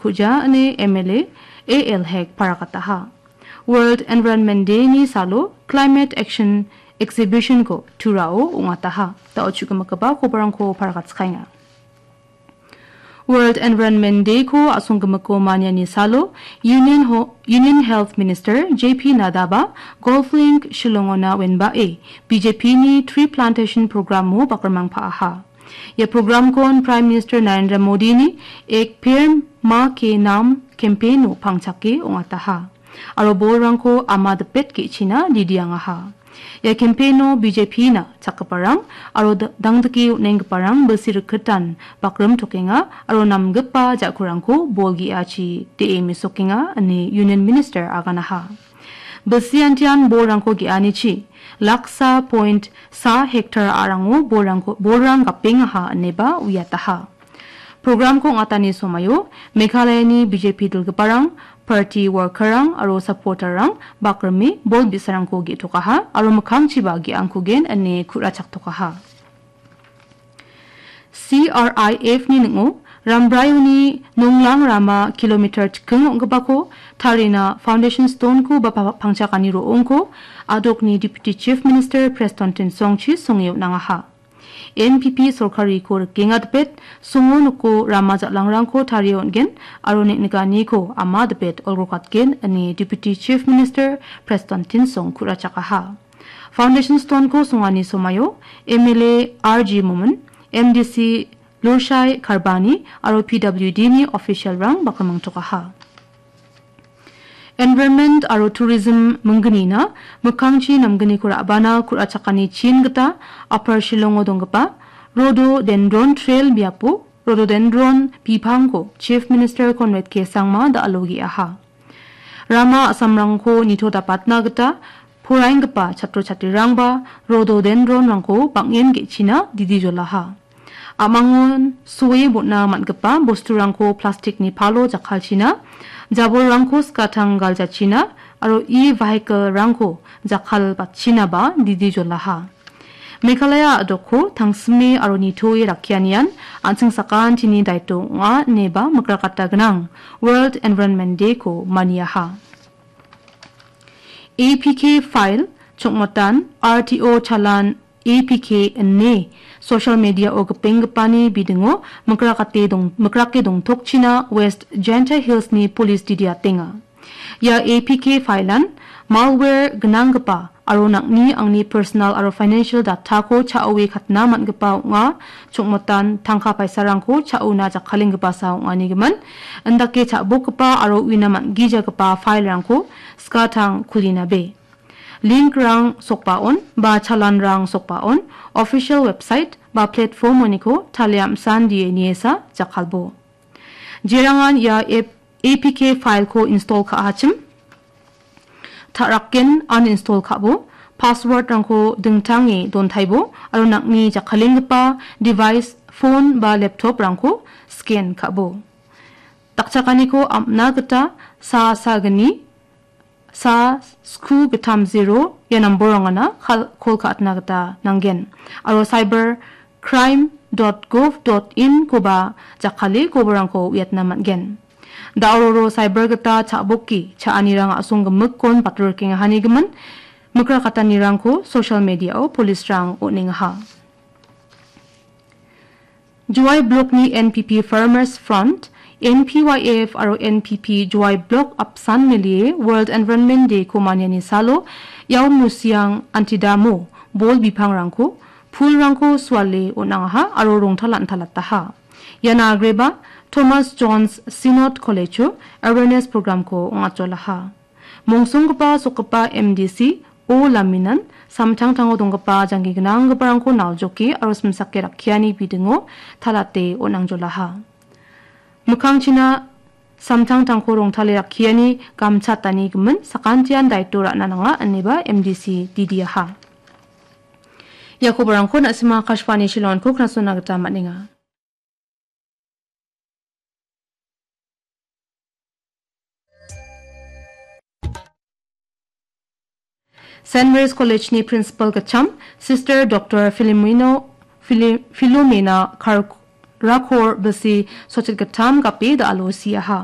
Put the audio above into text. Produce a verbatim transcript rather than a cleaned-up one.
Puja ine M L A A L Hek paragataha. World Environment Day-ni salo Climate Action Exhibition-ko Turao ong·ataha. Da·o chu·gimikgipa kobarangko paragatskaenga. World Environment Day-ko a·songgimiko maniani salo Union Ho-, Union Health Minister J P Nadaba Golf Link Shillong-ona wenbae B J P-ni tree plantation program-o bakrimang pa·aha. Ia program-kon Prime Minister Narendra Modi-ni Ek Ped Maa Ke Naam campaign-o pangchake ong·ataha. Aro bolrangko ama dipet ge·china didiangaha. Ia campaign-o B J P-na chakgiparang aro da-, dangdike on·enggiparang bilsi rikitan bakrim tokenga aro namgipa ja·kurangko bol ge·achi de·e mesokenga ine Union Minister aganaha. Bilsi antian bolrangko ge·anichi laksa point sa hektar a·rango bolrangko, bolrang gapengaha ineba uiataha. Program-ko ong·atani somaio Meghalayani B J P dilgiparang, party worker-rang aro supporter-rang bakrime bol bi·sarangko ge·tokaha aro mikkangchiba ge·angkugen ine ku·rachaktokaha. C R I F-ni ning·o Rambraioni nonglang rama kilometer chiking ong·gipako tarina foundation stone-ko ba pa-, pangchakani ro·ongko a·dokni Deputy Chief Minister Prestone Tynsong chi songe on·angaha. N P P sorkariko rikenga dipet, songo noko rama jal·angrangko tarie on·gen aro neng·nikaniko ama dipet olgrokatgen ine Deputy Chief Minister Prestone Tynsong ku·rachakaha. Foundation stone-ko songani somaio M L A R G Momin, M D C Lurshai Kharbani aro P W D-ni official-rang bakrimangtokaha. Environment aro Tourism minggnina mikkangchi namgniko ra·bana ku·rachakani chin gita Upper Shillong-o donggipa Rhododendron Trail biapo Rhododendron bipangko Chief Minister Conrad K Sangma da·alo ge·aha. Rama a·samrangko nitodapatna gita poraenggipa chatro chatrirangba rhododendron-rangko bang·en ge·china didi jolaha. A·mangon soe bon·a man·gipa bosturangko plastikni palo jakkalchina, jabolrangko skatang galjachina aro e-vehicle-rangko jakkalbatchinaba didi jolaha. Meghalaya a·dokko tangsime aro nitoe rakkianian an·ching sakantini daito ong·a ineba mikrakata gnang World Environment Day-ko maniaha. A P K file, chongmotan, R T O chalan, A P K ine social media-o gipenggipani bidingo mikrakate dong-, mikrake dongtokchina West Jaintia Hills-ni police didiatenga. Ia A P K file-an malware gnanggipa aro nang·ni angni personal aro financial data-ko cha·oe katna man·gipa ong·a, chongmotan tangka paisarangko cha·ona jakkalenggipasa ong·anigimin, indake cha·bokgipa aro uina man·gijagipa file-rangko skatang kulinabe. Link-rang sokbaon ba chalan-rang sokbaon official website ba platform-oniko talia am·sandie niesa jakkalbo. Jerangan ia ep-, A P K file-ko install ka·achim, ta·raken uninstall ka·bo, password-rangko dingtange dontaibo aro nang·ni jakkalenggipa device, phone ba laptop-rangko scan ka·bo. Dakchakaniko am·na gita sa sagni sa sku gittam zero ia namborangana kal-, kol ka·atna gita nanggen. Aro cyber crime dot gov dot in-koba jakkale koborangko uiatna man·gen. Da·o roro cyber gita cha·boki cha·anirang a·song gimikkon batorkengahanigimin, mikrakatanirangko social media-o police-rang on·engaha. Jowai Block-ni N P P Farmers Front, N P Y F aro N P P Jowai Block apsan milie World Environment Day-ko maniani salo Yaomusiang antidamo bol bipangrangko, pulrangko suale on·angaha aro rongtala an·talataha. Iana agreba Thomas Jones Synod College-o awareness program-ko ong·atjolaha. Mongsonggipa sokgipa M D C O Laminan samtangtango donggipa janggi gnanggiparangko naljoke aro simsake rakkiani bidingo talate on·angjolaha. Mikkangchina samtangtangko rongtale rakkiani gamchatani gimin sakantian daito ra·na nanga ineba M D C didiaha. Ia kobarangko na·sima Akashvani Shillong-ko knasona gita man·enga. Saint Mary's College-ni principal gitcham, Sister Doctor Filomeno, Fili-, Filomena Kar-, Rakor bilsi sochit gittam gape da·alo siaha.